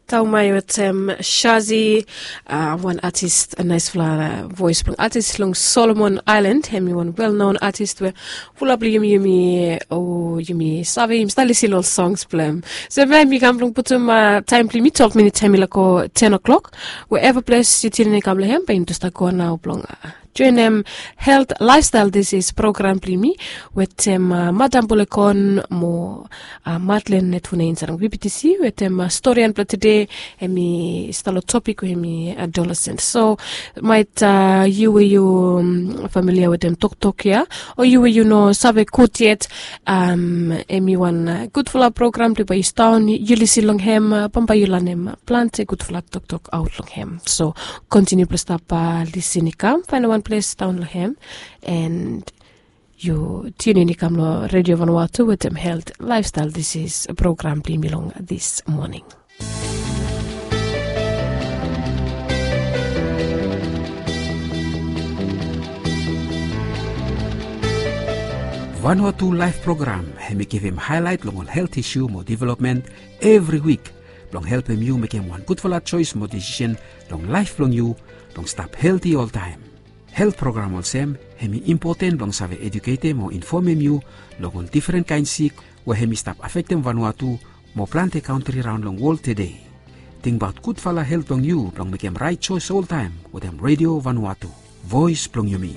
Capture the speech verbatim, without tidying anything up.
Taumai wetem Shazi, wan atis, naisfala vois blong atis long Solomon Aelan, hem i wan welnon atis we fulap long yumi, yumi o yumi save, yumi stap lisin long ol songs blong hem. So bae mi kam blong putum taem blong yumi twelve minits hem i laik go ten o'clock. Wherever ples yu tune in i kam long hem, bae yumi tu stap go nao blong joenem Health Lifestyle Disease program blong yumi wetem Madam Bulekon mo Madlen Netfuna insait long B B T C wetem storian blong tede. Hem i stap long topik we hem i adolescent. So maet yu we yu familia wetem toktok ya, o yu we yu no save gud yet, hem i wan gudfala program blong bae yu stap yu lisin long hem, bambae yu lanem plante gudfala toktok aot long hem. So kontiniu blong stap lisin i kam faenem wan ples daon long hem. And yu tune in i kam long Radio Vanuatu wetem Health Lifestyle Disease program blong yumi long this morning. Vanuatu Laef program hem i givim haelaet long ol helt isu mo developmen evri wik blong helpem yu mekem wan gudfala joes mo desisen long laef blong yu blong stap helti oltaem. Helt program olsem hem i impoten blong save eduketem o infomem yu long ol difren kaen sik we hem i stap afektem Vanuatu mo plante kantri raon long wol tede. Tingbaot gudfala helt blong yu blong mekem raet joes oltaem wetem Radio Vanuatu, voes blong yumi.